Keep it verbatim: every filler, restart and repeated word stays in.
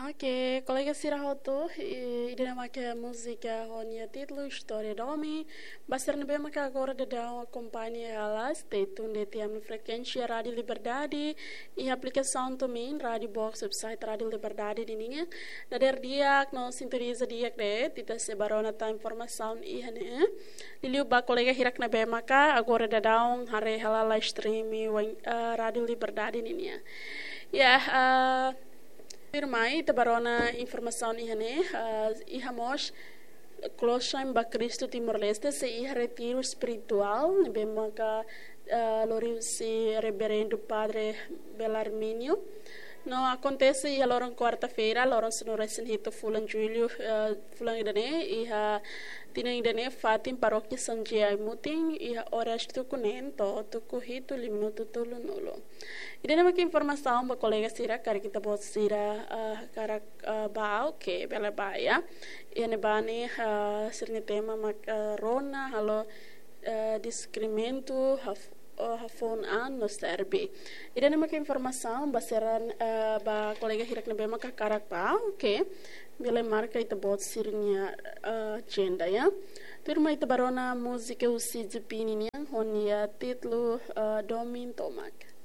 Oke, kolega sira hotu, i, ida-ne'e mak múzika ho nia títulu Istória Domin. Ba sira ne'ebé maka agora daudaun akompaña hela, stay tuned iha ami-nia frekuénsia Rádiu Liberdade, iha aplikasaun TuneIn, Rádiu Box, website Rádiu Liberdade ninian. Dadeer di'ak no sintoniza di'ak de'it, ita sei bá rona tan informasaun iha ne'e. Liuliu ba kolega hirak ne'ebé maka agora daudaun haree hela live stream iha, eh, Rádiu Liberdade ninian. Ya, eh, tuirmai ita bá rona informasaun iha ne'e, eh, iha mós Klosan ba Kristu Timor-Leste sei iha retiru espirituál ne'ebé maka, eh, lori husi Reverendu Padre Belarmino. No akontese iha loron kuarta-feira, loron sanulu-resin-hitu fulan Jullu, eh, fulan ida-ne'e, iha tinan ida-ne'e, fatin Parókia São José Aimutin, iha oras tuku neen to'o tuku hitu liu minutu tolunulu. Ida-ne'e mak informasaun ba kolega sira, karik ita-boot sira, eh, hakarak, eh, bá, oke, bele bá, ya. Iha ne'ebá ne'e, eh, sira-nia tema mak, eh, rona halo, eh, deskriminamentu haf-, eh, hafoun an no serve. Ida-ne'e mak informasaun ba sira, eh, ba kolega hirak ne'ebé mak hakarak bá, oke. Bele marka ita-boot sira-nia, eh, agenda, ya. Tuirmai ita bá rona múzika husi Jipini nian ho nia títulu, eh, Domin Tomak.